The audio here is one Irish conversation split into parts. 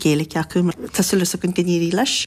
Gaeilge acu. Tá súil againn go n-éireoidh leis.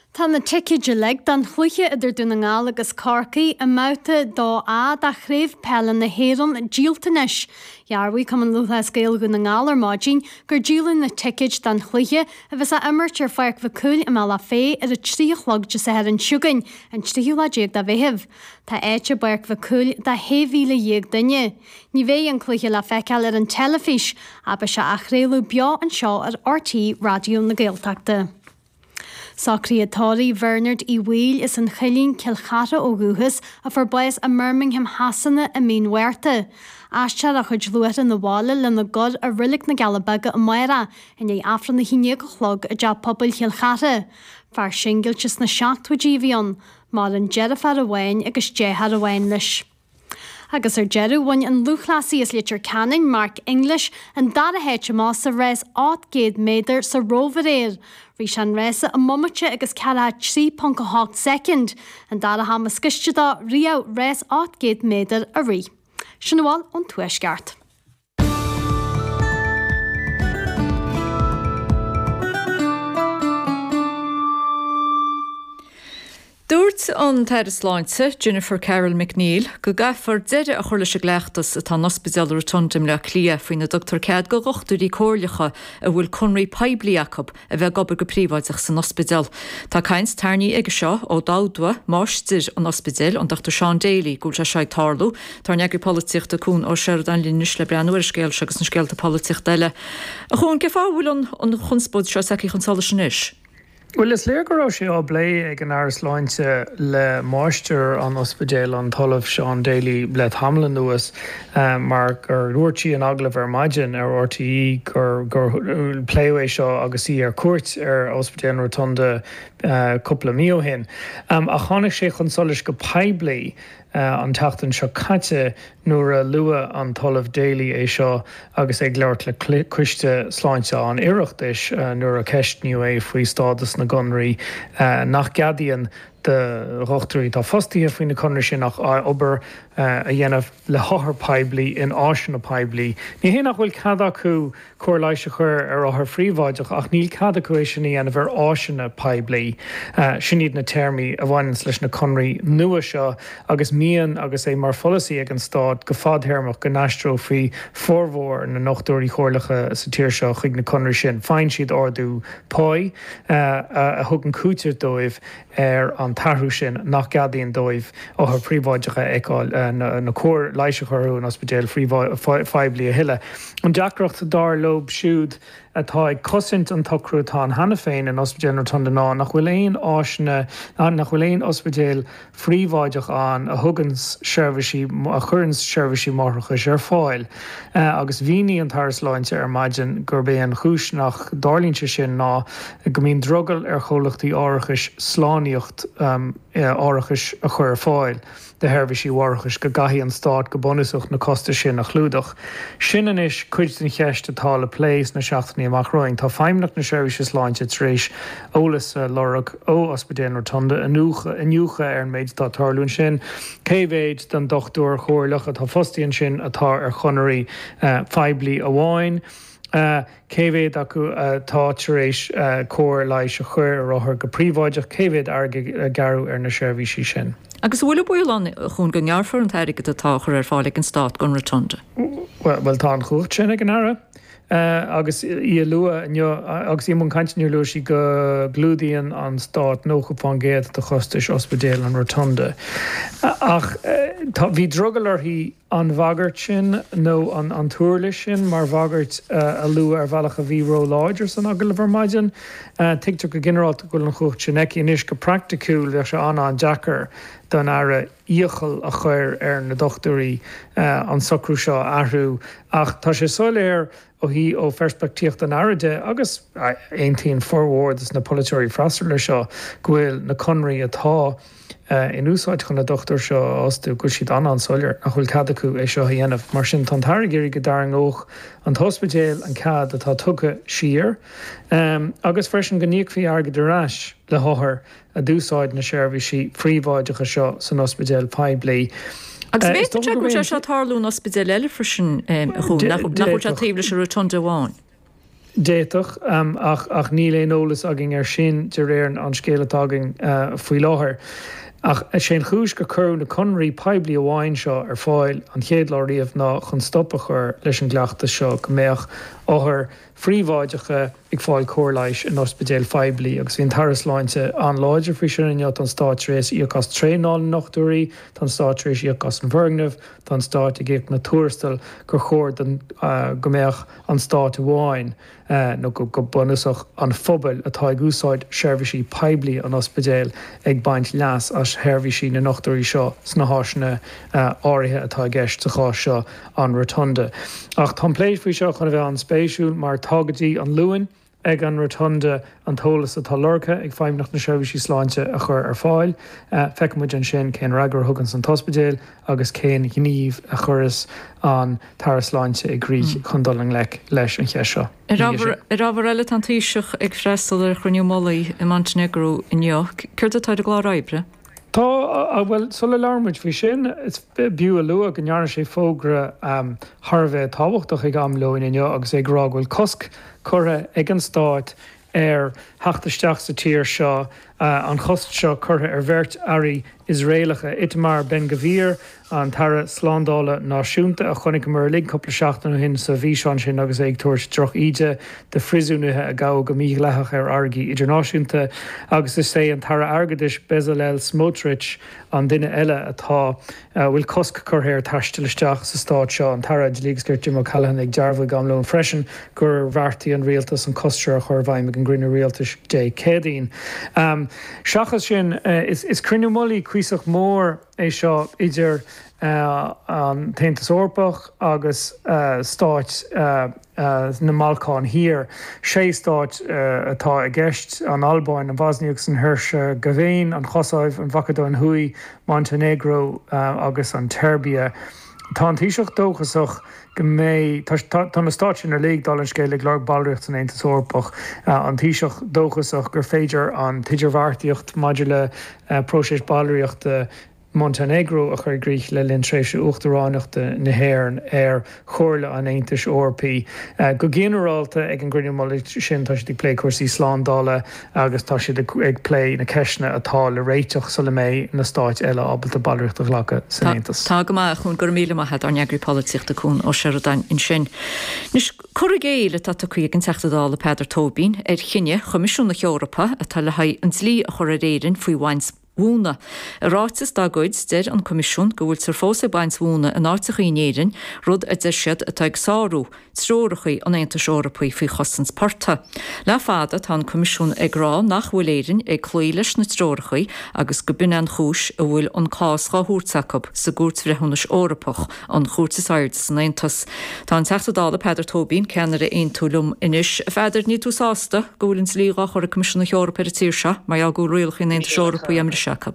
Tá na ticéid uilig don chluiche idir Dún na nGall agus Corcaigh i mBabhta 2A de Chraobh Peile na hÉireann díolta anois. Dhearbhaigh Cumann Lúthchleas Gael Dhún na nGall ar maidin gur díoladh na ticéid don chluiche, a bheas á imirt ar Pháirc Mhic Cumhaill i mBealach Féich ar a 3 a chlog Dé Sathairn seo chugainn, an tríú lá déag de Mheitheamh. Tá áit i bPáirc Mhic Cumhaill do 16,000 duine. Ní bheidh an cluiche le feiceáil ar an teilifís, ach beidh sé á chraoladh beo anseo ar RTÉ Raidió na Gaeltachta. Socruithe tórraimh Bhernard Uí Bhaoill as an Choillín, Cill Chartha ó dhúchas, a fuair bás i mBirmingham Shasana i mí an Mhárta. Aistreofar a chuid luaithreach 'na bhaile lena gcur i Reilig na gCealla Beaga amárach i ndiaidh Aifreann 11 a chlog i dTeach Pobail Chill Chartha. Fear singilte sna seachtóidí a bhí ann. Maireann deirfiúr amháin agus deartháir amháin leis. Agus ar deireadh, bhain an lúthchleasaí as Leitir Ceanainn, Mark English, an dara háit amach sa rás 800 méadar sa Róimh aréir. Rith sé an rása i mbomaite agus 43.8 soicind, an dara ham is gaiste dó riamh rás 800 méadar a rith. Sin a bhfuil ón Tuaisceart. Dúirt an tAire Sláinte, Jennifer Carroll MacNeill, go gcaithfear deireadh a chur leis an gcleachtas atá in Ospidéal Rotunda i mBleá Cliath faoina dtugtar cead do dhochtúirí comhairleacha a bhfuil conraí poiblí acu a bheith ag obair go príobháideach san ospidéal. Tá caint tarraingthe aige seo ó d'admhaigh máistir an ospidéil, an Dr Seán Daly, go bhfuil sé seo ag tarlú. Tá ár n-eagraí polaitíochta Cuan Ó Seireadáin linn anois le breathnú ar an scéal seo agus na scéalta polaitíochta eile. A Chuain, cén fáth a bhfuil an chonspóid seo tagtha chun solais anois? Bhuel, is léir go raibh sé á bplé ag an Aire Sláinte le máistir an ospidéil, an tOllamh Seán Daly, le tamall anuas mar gur dhúirt sí in agallamh ar maidin ar RTÉ gur pléadh é seo agus í ar cuairt ar Ospidéal an Rotunda cúpla mí ó shin. Ach tháinig sé chun solais go poiblí an tseachtain seo caite nuair a luaigh an tOllamh Daly é seo agus é ag labhairt le Coiste Sláinte an Oireachtais nuair a ceistníodh é faoi stádas na gconraí nach gceadaíonn do dhochtúirí atá fostaithe faoi na conraí sin ach obair a dhéanamh le hothair poiblí in áiseanna poiblí. Ní hé nach bhfuil cead acu cóir leighis a chur ar othair phríobháideach ach níl cead acu é sin a dhéanamh ar áiseanna poiblí. Sin iad na téarmaí a bhaineanns leis na conraí nua seo agus mian agus é mar pholasaí ag an Stát go fadthéarmach go n-aistreofaí formhór na ndochtúirí comhairleacha sa tír seo chuig na conraí sin. Faigheann siad ardú páí a thugann cúiteamh dóibh ar an t-athrú sin nach gceadaíonn dóibh othair phríobháideacha a fheiceáil nó cóir leighis a chur orthu in ospidéil phoiblí a thuilleadh. An deacracht, dar leo siúd atá ag cosaint an tsocrú atá ann cheana féin in Ospidéal an Rotunda ná nach bhfuil aon áiseanna, nach bhfuil aon ospidéal phríobháideach ann a thugann seirbhísí, a chuireann seirbhísí máithreachais ar fáil. Agus mhínigh an tAire Sláinte ar maidin gurb é an chúis nach dtarlaíonn sé sin ná go mbíonn drogall ar chomhlachtaí árachais slánaíocht árachais a chur ar fáil do sheirbhísí mháithreachais, go gcaithfidh an Stát go bunúsach na costais sin a chlúdach. Sin anois cuid den cheist atá le plé sna seachtainí amach romhainn. Tá Feidhmeannacht na Seirbhíse Sláinte tar éis eolas a lorg ó Ospidéal an Rotunda, iniúchadh ar an méid atá ag tarlú ansin, cé mhéid den dochtúir chomhairleach atá fostaithe ansin atá ar chonairí poiblí amháin, cé mhéad acu atá tar éis cóir leighis a chur ar othair go príobháideach, cé mhéad airgid a gearradh ar na seirbhísí sin. Agus an bhfuil an baol ann, a Chuain, go ngearrfar an t-airgead atá á chur ar fáil ag an Stát don Rotunda? Bhuel, tá an chumhacht sin ag an Aire. Agus í a lua inniu, agus í i mbun cainte inniu, luaigh sí go gclúdaíonn an Stát 90% de chostais Ospidéal an Rotunda. Ach tá, bhí drogall uirthi an bhagairt sin nó an t-uirlis sin mar bhagairt a lua ar bhealach a bhí róláidir san agallamh ar maidin. Tuigtear go ginearálta go bhfuil an chumhacht sin aici. Anois, go praiticiúil, bheadh sé an-an-deacair don Aire iachall a chur ar na dochtúirí an socrú seo a athrú ach tá sé soiléir ó thaobh ó pheirspictíocht an Aire de, agus aontaíonn formhór de na polaiteoirí freasúra leis seo, go bhfuil na conraí atá in úsáid chun na dochtúirí seo a fhostú, go bhfuil siad an-an-soiléir nach bhfuil cead acu é seo a dhéanamh. Mar sin, tá an tAire ag iarraidh go dtarraingeodh an t-ospidéal an cead atá tugtha siar agus freisin go n-íocfaí airgead ar ais le hothair a d'úsáid na seirbhísí phríobháideacha seo san ospidéal poiblí. Agus Is b'fhéidir dócha go bhfuil sé seo ag tarlú in ospidéil eile freisin, a Chuain, nach bhfuil sé taobh leis an Rotunda amháin? D'fhéadfadh, ach níl aon eolas againn air sin de réir an scéil atá againn faoi láthair. Ach is é an chúis gur cuireadh na conarthaí poiblí amháin seo ar fáil an chéad lá riamh ná chun stop a chur leis an gcleachtas seo go mbeadh othair phríobháideacha ag fáil cóir leighis in ospidéil phoiblí. Agus bhí an tAire Sláinte an-láidir faoi sin inniu, tá an Stát tar éis íoc as traenáil na ndochtúirí, tá an Stát tar éis íoc as an bhfoirgneamh, tá an Stát ag íoc na tuarastail gur chóir don go mbeadh an Stát amháin, nó go bunúsach an phobail atá ag úsáid seirbhísí poiblí an ospidéil ag baint leas as sheirbhísí na ndochtúirí seo sna háiseanna áirithe atá i gceist, sa chás seo an Rotunda. Ach tá an plé faoi seo chun a bheith an-spéisiúil mar tá go dtí an Luan ag an Rotunda an t-eolas atá lorgtha ag Feidhmeannacht na Seirbhísí Sláinte a chur ar fáil. Feicfidh muid ansin cén fhreagra a thuganns an t-ospidéal agus cén gníomh a chuireas an tAire Sláinte i gcrích chun dul i ngleic leis an cheist seo. Ar ábhar eile, tá an Taoiseach ag freastal ar chruinniú mullaigh i Montainéagró inniu. Céard atá ar an gclár oibre? Tá, bhuel, sula labhrann muid faoi sin, is b'fhiú a lua go ndearna sé fógra thar a bheith tábhachtach ag am lóin inniu agus é ag rá go bhfuil cosc curtha ag an stát ar theacht isteach sa tír seo, an chosc seo curtha ar bheirt airí Iosraelacha, Itamar Ben-Gvir, an tAire Slándála Náisiúnta, a chonaiceamar uilig cúpla seachtain ó shin sa bhfíseán sin agus é ag tabhairt droch-íde do phríosúnaithe a gabhadh go mídhleathach ar fharraigí idirnáisiúnta, agus is é an tAire Airgeadais Bezalel Smotrich an duine eile atá a bhfuil cosc curtha air taisteal isteach sa stát seo. An tAire Dlí agus Cirt Jim O'Callaghan ag dearbhú ag am lóin freisin gur bheartaigh an rialtas an cosc seo a chur i bhfeidhm ag an gcruinniú rialtais Dé Céadaoin. Seachas sin, is cruinniú mullaigh cuíosach mór é seo idir an tAontas Eorpach agus stáit na mBalcán Thiar. Sé stát atá i gceist, an Albáin, an Bhoisnia agus an Heirseagaivéin, an Chosaiv, an Mhacadóin Thuaidh, Montainéagró agus an tSeirbia. Tá an Taoiseach dóchasach go mbeidh, tá na stáit sin uilig, dála an scéil, ag lorg ballraíocht san Aontas Eorpach. An Taoiseach dóchasach gur féidir an t-idirbheartaíocht maidir le próiseas ballraíochta Montainéagró a chur i gcrích le linn tréimhse uachtaránachta na hÉireann ar Chomhairle an Aontais Eorpaigh. Go ginearálta, ag an gcruinniú mullaigh sin, tá siad ag plé cúrsaí slándála agus tá siad ag plé na ceisteanna atá le réiteach sula mbeidh na stáit eile ábalta ballraíocht a ghlacadh san Aontas. Tá go maith, a Chuain, go raibh míle maith agat, ár n-eagraí polaitíochta Cuan Ó Seireadáin ansin. Anois, cur i gcéill atá tugtha ag an Teachta Dála Peadar Tóibín ar chinneadh Choimisiún na hEorpa atá le haghaidh an dlí a chur ar Éirinn faoi bhaint mhóna. I ráiteas dá gcuid, deir an Coimisiún go bhfuiltear fós ag baint mhóna in áiteachaí in Éirinn, rud a deir siad atá ag sárú treorachaí an Aontais Eorpaigh faoi chosaint portaigh. Le fada tá an Coimisiún ag rá nach bhfuil Éirinn ag cloí leis na treorachaí agus go b'in an chúis a bhfuil an cás dhá thabhairt acu sa gCúirt Bhreithiúnais Eorpach, an chúirt is airde san Aontas. Tá an Teachta Dála Peadar Tóibín, ceannaire Aontú liom anois. A Pheadair, níl tú sásta go bhfuil an dlí dhá chur ag Coimisiún na hEorpa ar an tír seo mar gheall go bhfuil rialachaí an Aontais Eorpaigh á mbriseadh acu?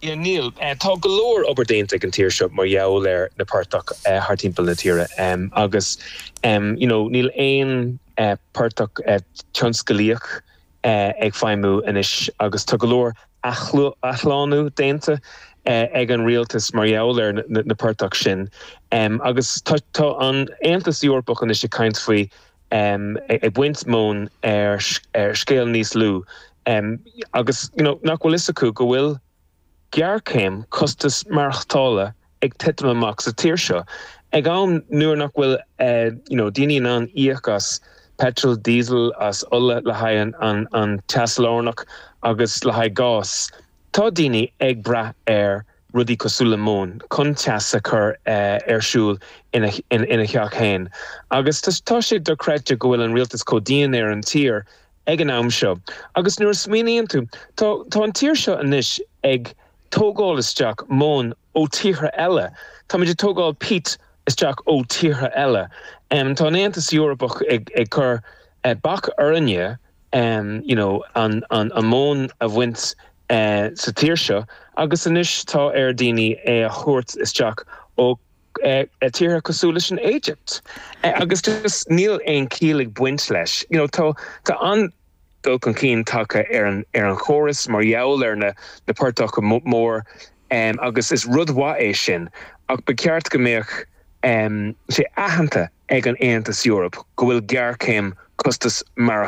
Yeah, níl. Tá go leor obair déanta ag an tír seo mar gheall ar na portaigh thar timpeall na tíre agus you know níl aon portach tionscalaíoch ag feidhmiú anois agus tá go leor athshlánú déanta ag an rialtas mar gheall ar na portaigh sin agus tá an Aontas Eorpach anois ag caint faoi ag baint móin ar scéal níos lú agus you know nach bhfuil fhios acu go bhfuil géarchéim costas maireachtála ag titim amach sa tír seo ag am nuair nach bhfuil you know daoine in ann íoc as petrol, diesel, as ola le haghaidh an an teas lárnach agus le haghaidh gás. Tá daoine ag brath ar rudaí cosúil le móin chun teas a chur ar siúl ina ina theach féin agus tá sé dochreidte go bhfuil an rialtas chomh dian ar an tír ag an am seo. Agus nuair a smaoiníonn tú, tá tá an tír seo anois ag tógáil isteach móin ó tíortha eile. Táimid ag tógáil peat isteach ó tíortha eile. Tá an Aontas Eorpach ag ag cur bac orainne you know an an an móin a bhaint sa tír seo agus anois tá ar daoine é a thabhairt isteach ó tíortha cosúil leis an Éigipt. Agus just níl aon chiall ag baint leis. You know tá tá an dul chun cinn tagtha ar an ar an chóras mar gheall ar na na portacha mór agus is rud mhaith é sin ach ba cheart go mbeadh sé aitheanta. ag an Aontas Eorpach go bhfuil géarchéim costas maireachtála.